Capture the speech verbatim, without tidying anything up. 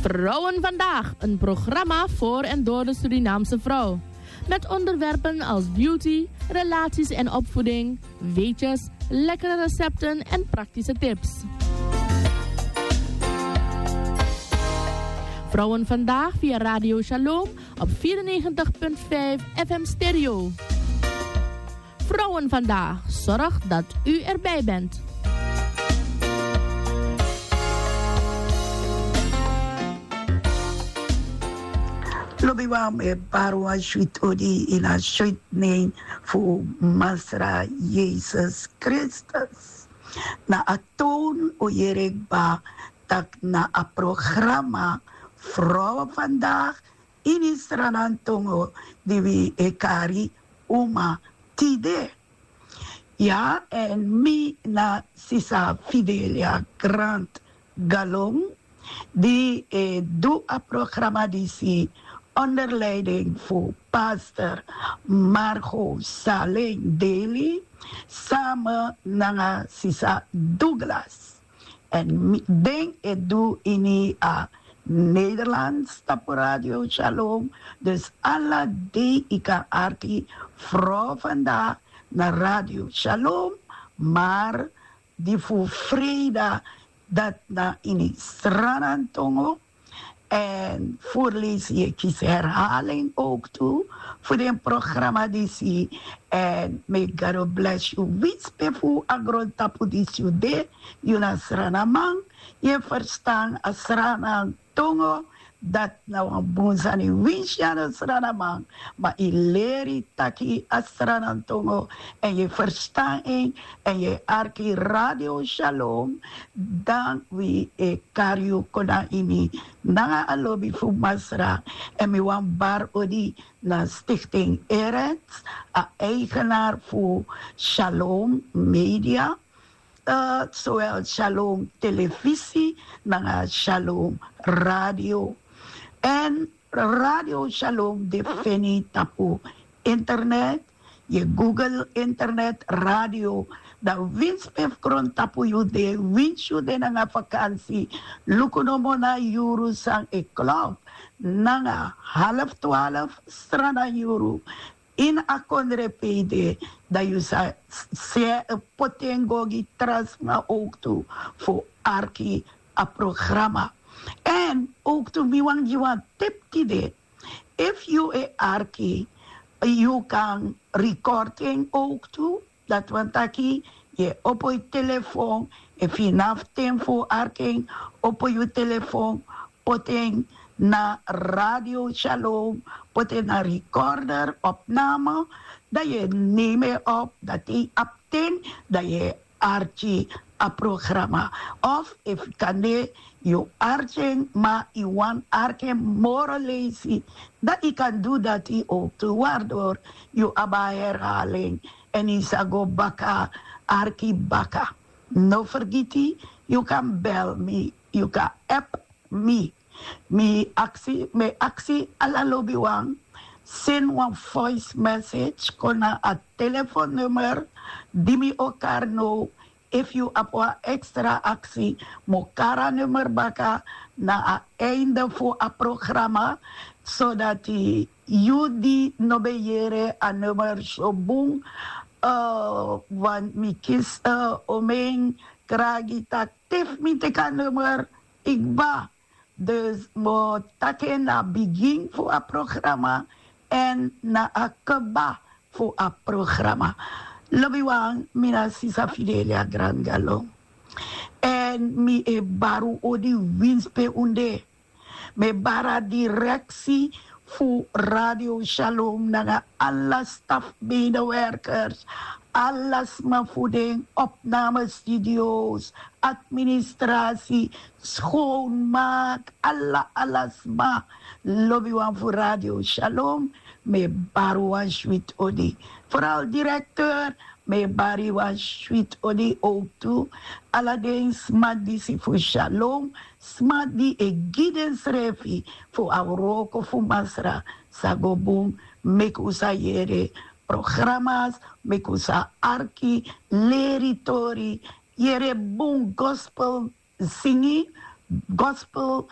Vrouwen Vandaag, een programma voor en door de Surinaamse vrouw. Met onderwerpen als beauty, relaties en opvoeding, weetjes, lekkere recepten en praktische tips. Vrouwen Vandaag via Radio Shalom op vierennegentig punt vijf F M Stereo. Vrouwen Vandaag, zorg dat u erbij bent. Lobi wan, mi e bari wan switi odi ini a switi nen fu Masra Yesus Kristus. Na a toon o yere kba tak' na a programa Vrouwen Vandaag ini Sranan Tongo di wi e kari Uma Tide. Ya, èn mi na sisa Fidelia Grant Galon, di e du a programa disi onder leiding fu pastor Margo Saleng Daly, samen nanga sisa Douglas. Èn mi- den e du ini a Nederlands tapu Radio Shalom. Dus ala dei yu kan arki Vrouw Vandaag na Radio Shalom, maar di fu freida, dat na ini Sranan Tongo. En voorlezen, je kies herhaling ook toe voor den programma disi. En may God bless you. Winsi pe fu a grontapu disi yu de, yu na Sranaman, yu e ferstan a Sranan Tongo, dati na wan bun sani. Winsi yu a no Sranaman, ma yu leri taki a Sranan Tongo, èn yu e ferstan en, èn yu e arki Radio Shalom, dan wi e kari yu kon na ini nanga a lobi fu Masra. Èn mi wani bari odi na Stichting Erens, a eigenaar fu Shalom Media, eh, zowel Shalom Televisie nanga Shalom Radio. Èn Radio Shalom de feni tapu internet, yu e Google internet radio. Dan winsi pe fu grontapu yu de, winsi yu de nanga vakansi, luku nomo na yuru san e klop, nanga half twaalf Sranan yuru ini a kondre pe yu de, dan yu sa se poti en go gi tra sma ook tu fu arki a programa. Èn ook tu mi wani gi wan tip tide. Efu yu e arki, yu kan record en ook tu. Dati wani taki yu e opo yu telefon, efu yu no abi ten fu arki en, opo yu telefon, poti en na Radio Shalom, poti en na recorder, opname, dan yu e nemi en op, dan te yu abi ten, dan yu e arki a programa. Of efu kande yu arki en, ma yu wani arki en moro leisi, dan yu kan du dati ook tu, waardoor yu abi a herhaling èn yu sa go baka arki baka. No fergiti, yu kan bel mi, yu kan app mi. Mi aksi, mi aksi ala lobiwan, seni wan voice message kon na a telefonnummer di mi o kari now. Efu yu abi wan extra aksi, mi o kari a nummer baka na a einde fu a programa, sodati yu di no ben yere a nummer so bun, eh, want mi kisi, eh, omeni kragi taki te fu mi teki a nummer, yu kba. Dus mi o taki en na a bigin fu a programa èn na a kba fu a programa. Lobiwan, mi na sisa Fidelia Grangalo. Èn mi e bari un odi winsi pe un de. Mi e bari a direksi fu Radio Shalom nanga ala staf medewerkers, ala sma fu den opnamestudio's, administrasi, schoonmaak, ala, ala sma. Lobiwan fu Radio Shalom, mi e bari wan switi odi. Vooral directeur, mi e bari wan switi odi ook tu. Ala den sma disi fu Shalom, sma di e gi densrefi fu a wroko fu Masra sa go bun, meki un sa yere programas, meki un sa arki, leri tori, yere bun gospel singi, gospel